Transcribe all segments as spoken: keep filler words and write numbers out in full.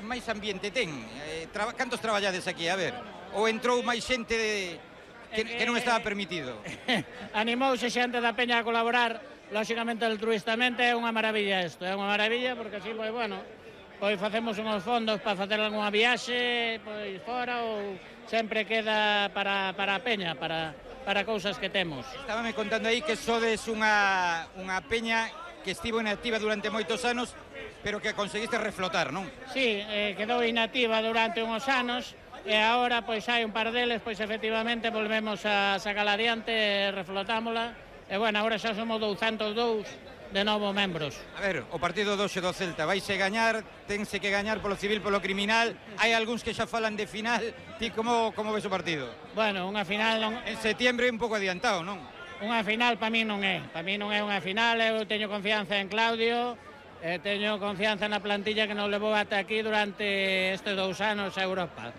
máis ambiente ten. Eh, traba, cantos traballades aquí, a ver? Ou entrou máis xente de, que, que non estaba permitido? Animouse xente da Peña a colaborar, lóxicamente altruistamente, é unha maravilla isto, é unha maravilla, porque así, pois, bueno, pois facemos uns fondos para facer algunha viaxe, pois, fora, ou sempre queda para, para a Peña, para, para cousas que temos. Estábame contando aí que sodes unha, unha peña que estivo inactiva durante moitos anos, pero que conseguiste reflotar, non? Sí, eh, quedou inactiva durante uns anos, e agora, pois, hai un par deles, pois, efectivamente, volvemos a sacala adiante, e reflotámola, e, bueno, agora xa somos douscentos e dous de novo membros. A ver, o partido doce do Celta, vaise gañar, tense que gañar polo civil, polo criminal, hai algúns que xa falan de final, ti como, como ves o partido? Bueno, unha final non... En setiembre un pouco adiantado, non? Unha final para mí non é, para mí non é unha final, eu teño confianza en Claudio, eh, teño confianza na plantilla que nos levou ata aquí durante estes dous anos a Europa.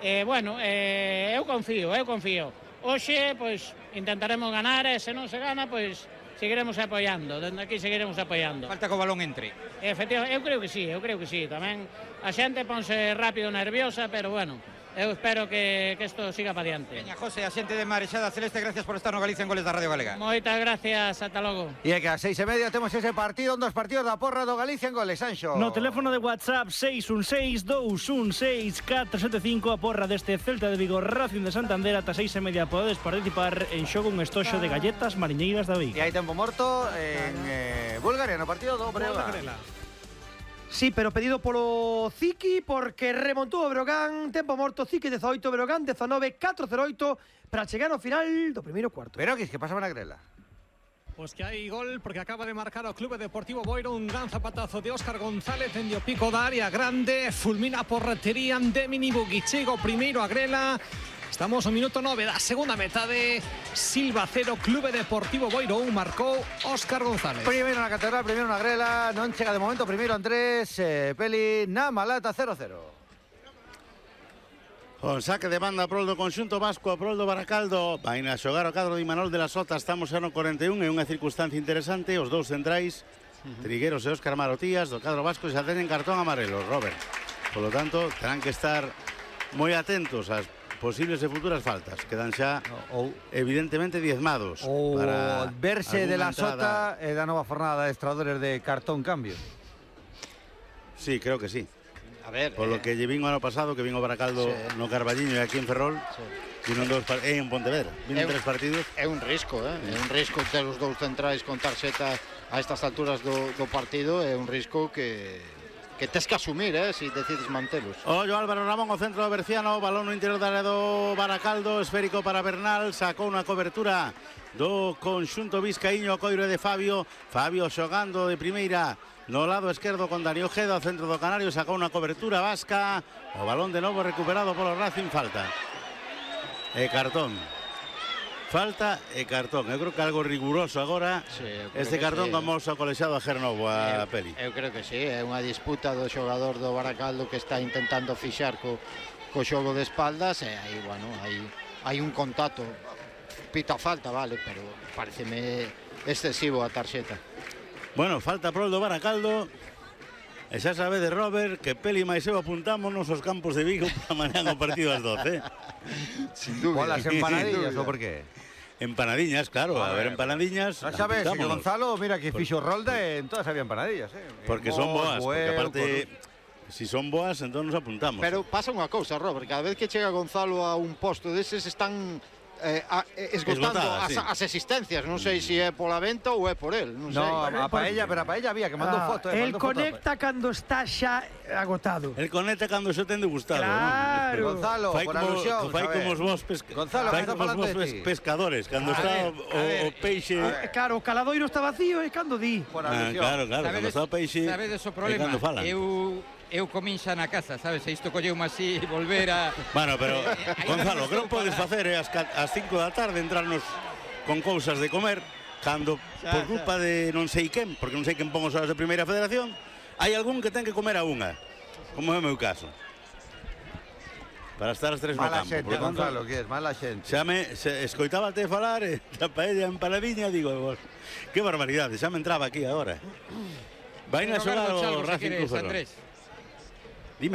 Eh, bueno, eh, eu confío, eu confío. Hoxe, pois, intentaremos ganar, e se non se gana, pois, seguiremos apoiando, dende aquí seguiremos apoiando. Falta que o balón entre. Efectivamente, eu creo que sí, eu creo que sí, tamén a xente ponse rápido nerviosa, pero bueno, eu espero que, que isto siga para diante. Veña, José, a xente de Marexada Celeste, gracias por estar no Galicia en Goles da Radio Galega. Moitas gracias, ata logo. E é que a seis e media temos ese partido, un dos partidos da porra do Galicia en Goles, Anxo. No teléfono de WhatsApp seis un seis, dous un seis, catro sete cinco, a porra deste Celta de Vigo Racing de Santander, ata seis e media podedes participar en xogo un estoxo de galletas mariñeiras da Vigo. E hai tempo morto en eh, Bulgaria, no partido do Breogán. Sí, pero pedido polo Ziki, porque remontou o Breogán, tempo morto, Ziki dezaoito, Breogán dezanove, catro cero oito, para chegar ao final do primeiro cuarto. Pero que, que pasa na grela? Pues que hai gol porque acaba de marcar o Clube Deportivo Boiro un gran zapatazo de Óscar González en o pico da área grande, fulmina por portería de Minibugi, chega o primeiro a grela. Estamos ao minuto nove da segunda metade. Silva cero, Clube Deportivo Boiro un, marcou Óscar González. Primeiro na catedral, primeiro na grela, non chega de momento, primeiro Andrés, eh, Peli na Malata cero cero. Con saque de banda prol do conxunto vasco, a prol do Baracaldo. Vai a xogar o cadro de Imanol de la Sota, estamos xa no cuarenta e un, é unha circunstancia interesante, os dous centrais, uh -huh. Trigueros e Óscar Marotías, do cadro vasco, xa tenen cartón amarelo, Robert. Por lo tanto, terán que estar moi atentos ás posibles e futuras faltas. Quedan xa, ou, evidentemente, diezmados. O para verse de la entrada... Sota e da nova fornada de estradores de cartón cambio. Sí, creo que sí. A ver, por lo eh... que lle vin o ano pasado, que vin o Baracaldo sí. no Carballiño e aquí en Ferrol, sí. vino dos par... en Pontevedra, vino tres partidos. É un risco, eh? é un risco ter os dous centrais con tarxeta a estas alturas do, do partido, é un risco que... que tes que asumir, eh, se si decides mantelos. Ollo Álvaro Ramón, o centro do Berciano, balón no interior da área do Baracaldo, esférico para Bernal, sacou unha cobertura do conxunto vizcaíño, coiro de Fabio, Fabio xogando de primeira no lado esquerdo con Dani Ojeda, ao centro do Canario, sacou unha cobertura vasca, o balón de novo recuperado polo Racing, falta. E cartón. Falta e cartón. Eu creo que algo riguroso agora. Sí, este cartón sí. como o colexiado a Gernovo a eu, Peli. Eu creo que sí, é unha disputa do xogador do Baracaldo que está intentando fixar co, co xogo de espaldas e aí, bueno, hai, hai un contacto. Pita falta, vale, pero pareceme excesivo a tarxeta. Bueno, falta prol do Baracaldo. E xa sabe de Robert que Peli máis eu apuntamos nos os campos de Vigo para mañá o partido ás doce. Sin dúbida. Las empanadillas, ou por qué? Empanadiñas, claro, a, a ver, empanadiñas. Xa sabes, que Gonzalo, mira que fixo rolda en todas había empanadillas, eh. Porque son boas, porque aparte si son boas, entón nos apuntamos. Pero pasa unha cousa, Robert, cada vez que chega Gonzalo a un posto deses están Eh, a, eh, esgotando Esgotada, as, sí. as existencias, non sei se é pola venta ou é por el, non sei. No, a paella, pero a paella había que mandou ah, foto, eh, el conecta cando está xa agotado. El conecta cando xa ten degustado, claro. ¿no? Gonzalo, fai por como, alusión, fai como os vos pesca... Gonzalo, fai como os vos pes pescadores, cando está o, o peixe... Claro, o caladoiro está vacío e cando di. Por alusión. Ah, claro, claro, sabedes, cando está o peixe... Sabedes o problema? Eu... Eu comín xa na casa, sabes? E isto colleume así volver a... Bueno, pero, Gonzalo, o que non podes facer é as cinco da tarde entrarnos con cousas de comer cando, xa, por culpa xa. de non sei quen, porque non sei quen pon os horas de Primeira Federación, hai algún que ten que comer a unha, como é o meu caso. Para estar as tres no mala campo. Xente, por Gonzalo, que es mala xente. Xa me se, escoitábate falar e da paella empanadiña, digo, vos, que barbaridade, xa me entraba aquí agora. Vai na xogar o Racing Club Ferrol. Dime.